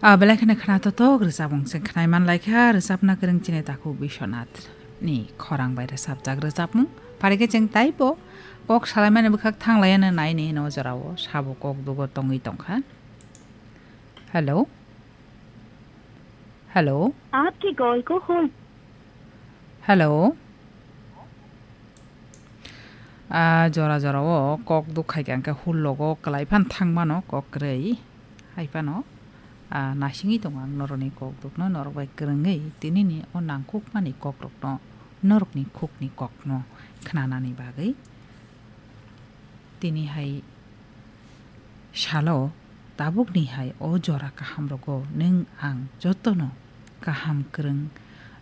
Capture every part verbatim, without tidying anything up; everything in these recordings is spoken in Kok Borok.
A belai kheno khna totok rwchapmung chwng khnai man lai kha, rwchapna kwrwng chini takhuk Biswanath ni khorang bai rwchapjak rwchapmung. Phari khe chwng taibo kok salaimani bwkhak thang lai ano nai ni no jorao sabo kok dugo tongwi tong kha. Hello. Hello. आपकी कॉल को hold Hello. A jora jora o kok duk khai khe, ang khe hul logo kwlai phan thang mano kok kwrwi. Hai phano, a, naisingwi tongo ang norokni kok dukno, norok bai kwrwngwi tinini o nangkukmani kokrokno, norokni khukni kokno khnanani bagwi. Tini hai salo tabukni hai o jora kaham rogo nwng ang jotono kaham kwrwng,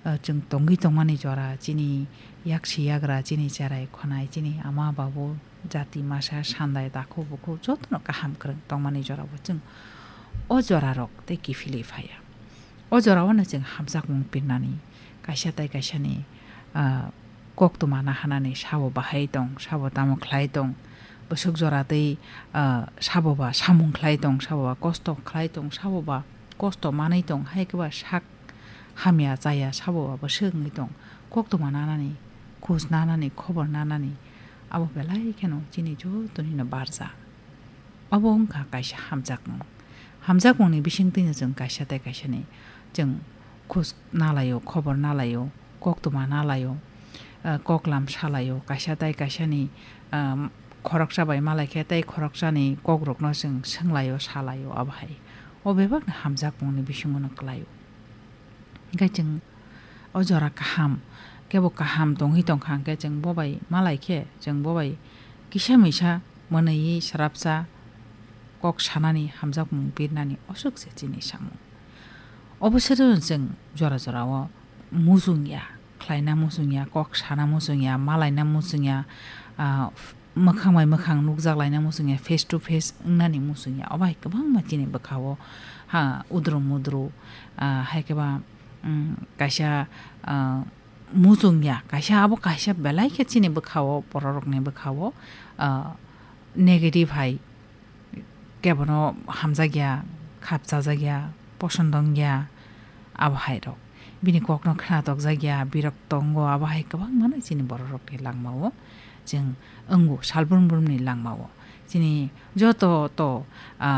ah, chwng tongwi tongmani jora, chini yaksi yagra, chini cherai khonai, chini ama babu, jati masa, sandai, takhuk bukhuk jotono kaham kwrwng tongmani jora bo chwng o jora rok tei kiphilwi phaiya. O jorao no chwng hamjakmung pirnani, kaisa tai kaisani, ah, koktwma nahanani, sabo bahai tong, sabo tamo khlai tong, bwswk jora tei, ah, sabo ba samung khlai tong, sabo ba kosto khlai tong, sabo ba kosto manwi tong, hai khe ba sak hamya chaya, sabo ba bwswk wngwi tong, koktwma nanani, khoj nanani, khobor nanani, abo belai kheno chini jotonino barja. Abo wngkha kaisa hamjakmung. Hamjakmungni bisingtwino chwng kaisa tai kaisani chwng khus nalaio, khobor nalaio, koktwma nalaio, ah, koklam salaio, kaisa tai kaisani, ah, khoroksa bai malai khe tei khoroksani kokrokno chwng swnglaio, salaio, abo hai. O bebakni hamjakmungni bisingono kwlaio. Hingkhe chwng o jora kaham, kebo kaham tongwi tongkha, hingkhe chwng bo bai malai khe, chwng bo bai kisa misa mwnwi srapsa kok sanani, hamjakmung birnani, aswk se chini samung. Obo sero chwng jora jora o muchung ya, khlaina muchung ya, kok sana muchung ya, malaina muchung ya, ah, mwkhang bai mwkhang nukjak laina muchung ya, face to face wngnani muchung ya. Obo hai kwbangma chini bwkha o, ha, udru mudru, ah, hai khe ba, um, kaisa, ah, muchung ya, kaisa abo kaisa belai khe chini bwkha o, borok rokni bwkha o, ah, negative hai kebono hamjakya, khapchajakya, poson dongya, abo hai rok. Bini kokno khna tokjakya, birok tongo, abo hai kwbangmano chini borok rokni langmao chwng wngo, salbrum brumni langmao. Chini joto to, ah,